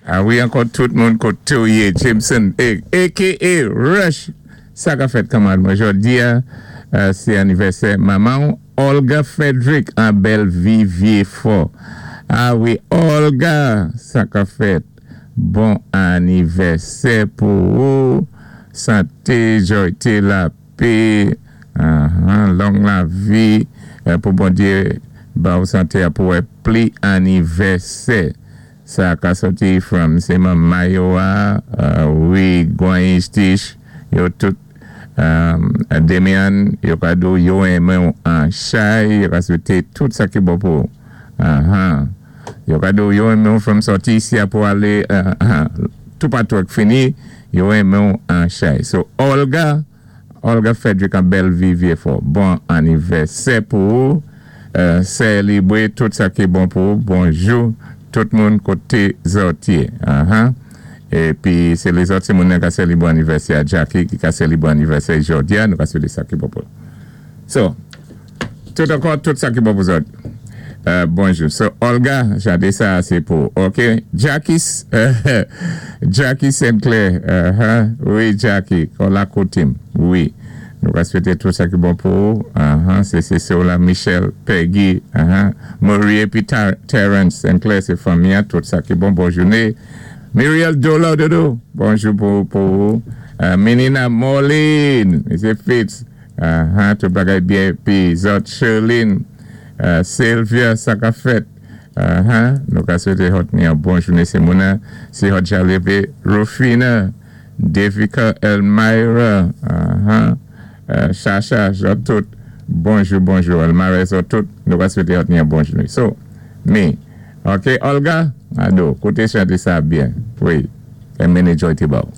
A wi, ankò tout moun koté ou yé, Jameson, a.k.a. Rush, sa ka fèt, kanmarad mwen? Jòdi-a, sé anivèsè manman Olga Frederick an Bèlvi Vyéfò. A wi, Olga, sa ka fèt? Bon anivèsè pou ou. Santé, jòyté, lapè, long lavi, pou Bondyé ba ou santé a pou wè pli anivèsè. Sa ka sòti from sé manman yo a, wi, Gwan Tish, yo tout, Demian, yo ka di yo renmen ou an chay, yo ka swété tout sa ki bon pou ou. Yo ka di yo renmen ou from sòti isi a pou alé toupatou ak fini, yo renmen ou an chay. So, Olga, Olga Frederick an Bèlvi Vyéfò, bon anivèsè pou ou, sélébré tout sa ki bon pou ou. Bonjou, tout moun koté zòt yé. Épi, sé lézòt sé moun ka sélébré anivèsè a Jackie ki ka sélébré anivèsè jòdi-a, nou ka swété sa ki bon pou. So, tout ankò, tout sa ki bon pou zòt. Bonjou. So, Olga, jadé sa, sé pou, OK? Jackie, Jackie Sinclair, wi, Jackie, kon koté, wi. Nou ka swété tout sa ki bon pou ou. Sé la Michel, Peggy, Marie épi Terence Sinclair, sé fanmi, tout sa ki bon, bon jouné. Muriel Dolo Dodo, bonjou pou ou. Menina Moline, M. Fitz, tout bagay byen, épi zòt Sherlyn, Sylvia, sa ka fèt. Nou ka swété zòt ni yon bon jouné, sé moun, si zòt ja lévé, Rufina, Devika Elmira, Chacha, zòt tout, bonjou, bonjou, Elmira, zòt tout, nou ka swété zòt ni yon bon jouné. So, me, OK, Olga, ado, kouté chanté sa byen, wi, é mennen jòyté ba ou.